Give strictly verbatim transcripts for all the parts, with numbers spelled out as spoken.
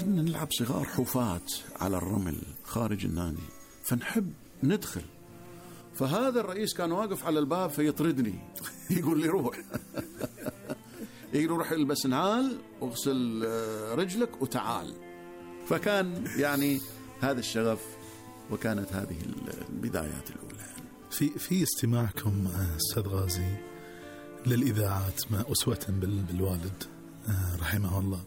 كنا نلعب صغار حوفات على الرمل خارج النادي، فنحب ندخل. فهذا الرئيس كان واقف على الباب فيطردني يقول لي روح يقول روح البس نعال واغسل رجلك وتعال. فكان يعني هذا الشغف، وكانت هذه البدايات الأولى. في في استماعكم أستاذ غازي للإذاعات ما أسوة بالوالد رحمه الله،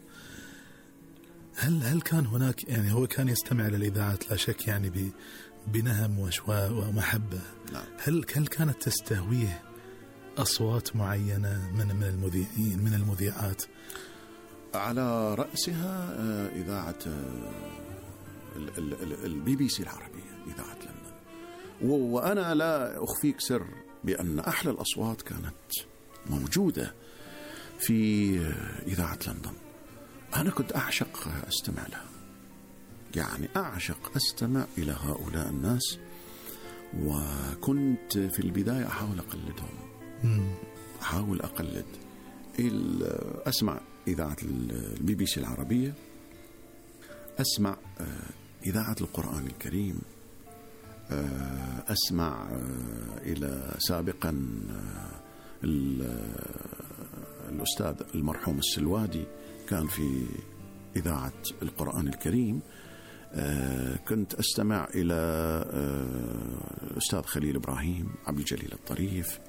هل هل كان هناك يعني هو كان يستمع للإذاعات لا شك يعني بنهم وشواء ومحبة؟ نعم. هل هل كانت تستهويه أصوات معينة من من المذيعين من المذيعات؟ على رأسها إذاعة البي بي سي العربية، إذاعة لندن. وأنا لا أخفيك سر بأن أحلى الأصوات كانت موجودة في إذاعة لندن. أنا كنت أعشق أستمع لها، يعني أعشق أستمع إلى هؤلاء الناس، وكنت في البداية أحاول أقلدهم. أحاول أقلد أسمع إذاعة البي بي سي العربية، أسمع إذاعة القرآن الكريم، أسمع إلى سابقا الأستاذ المرحوم السلوادي كان في إذاعة القرآن الكريم. كنت أستمع إلى الأستاذ خليل إبراهيم، عبد الجليل الطريف،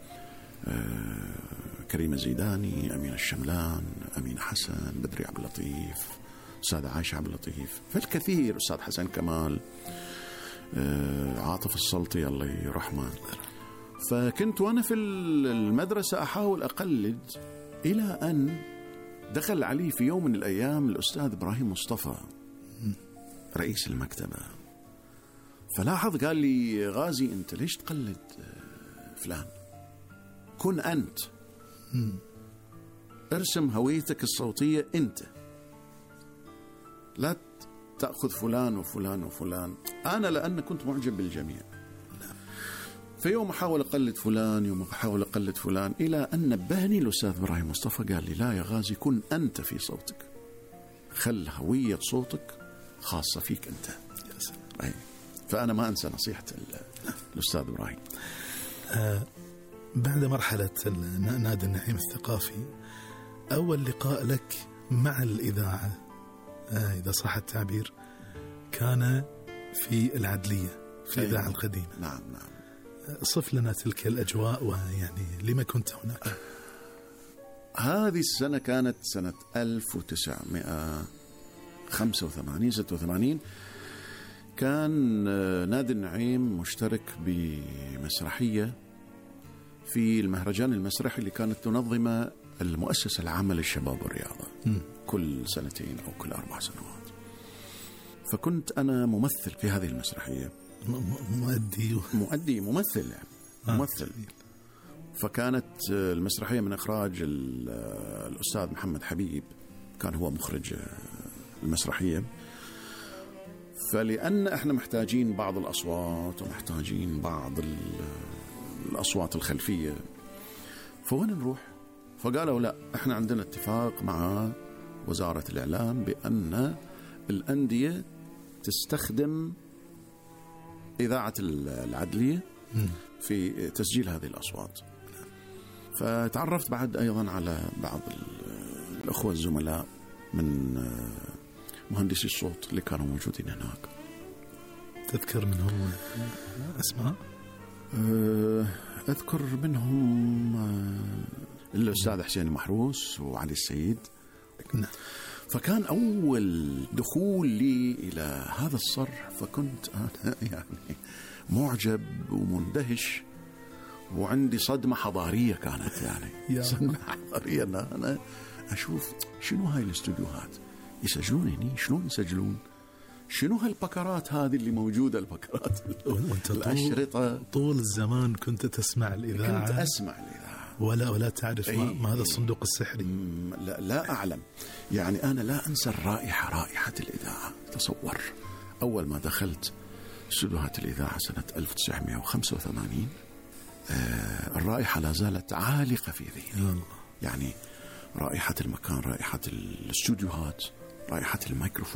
كريمة زيداني، أمين الشملان، أمين حسن، بدري عبد اللطيف، أستاذ عائشة عبد اللطيف، فالكثير، أستاذ حسن كمال، عاطف السلطي الله يرحمه. فكنت وأنا في المدرسة أحاول أقلد، إلى أن دخل علي في يوم من الأيام الأستاذ إبراهيم مصطفى رئيس المكتبة، فلاحظ قال لي غازي أنت ليش تقلد فلان؟ كن أنت، ارسم هويتك الصوتية أنت، لا تأخذ فلان وفلان وفلان. أنا لأن كنت معجب بالجميع، في يوم أحاول أقلد فلان، يوم أحاول أقلد فلان، إلى أن نبهني الأستاذ إبراهيم مصطفى قال لي لا يا غازي، كن أنت في صوتك، خل هوية صوتك خاصة فيك أنت. أي. فأنا ما أنسى نصيحة الأستاذ إبراهيم. آه بعد مرحلة نادي النعيم الثقافي، أول لقاء لك مع الإذاعة آه إذا صح التعبير كان في العدلية في الإذاعة أيوة. القديمة. نعم نعم. صف لنا تلك الأجواء، ويعني لما كنت هناك؟ هذه السنة كانت سنة ألف وتسعمائة وخمسة وثمانين ستة وثمانين. كان نادي النعيم مشترك بمسرحية في المهرجان المسرحي اللي كانت تنظمه المؤسسة العامة للشباب والرياضة م. كل سنتين أو كل أربع سنوات. فكنت أنا ممثل في هذه المسرحية، مؤدي مؤدي ممثل يعني آه. ممثل. فكانت المسرحية من إخراج الأستاذ محمد حبيب، كان هو مخرج المسرحية. فلأن إحنا محتاجين بعض الأصوات ومحتاجين بعض الأصوات الخلفية، فوين نروح؟ فقالوا لا، إحنا عندنا اتفاق مع وزارة الإعلام بأن الأندية تستخدم إذاعة العدلية في تسجيل هذه الأصوات. فتعرفت بعد أيضا على بعض الأخوة الزملاء من مهندسي الصوت اللي كانوا موجودين هناك. تذكر منهم أسماء؟ أذكر منهم الأستاذ حسين محروس وعلي السيد. نعم. فكان أول دخول لي إلى هذا الصرح، فكنت أنا يعني معجب ومندهش، وعندي صدمة حضارية كانت يعني صدمة حضارية. أنا, أنا أشوف شنو هاي الاستوديوهات، يسجلون هني، شلون يسجلون، شنو هالبكرات هذه اللي موجودة، البكرات الأشرطة. طول الزمان كنت تسمع الإذاعة؟ كنت أسمع الإذاعة ولا ولا تعرف ما, ما هذا الصندوق السحري؟ لا, لا أعلم يعني. أنا لا أنسى الرائحة، رائحة الإذاعة. تصور أول ما دخلت استوديوهات الإذاعة سنة ألف وتسعمائة وخمسة وثمانين، آه الرائحة لا زالت عالقة في ذهني. يعني رائحة المكان، رائحة الاستوديوهات، رائحة الميكروفون.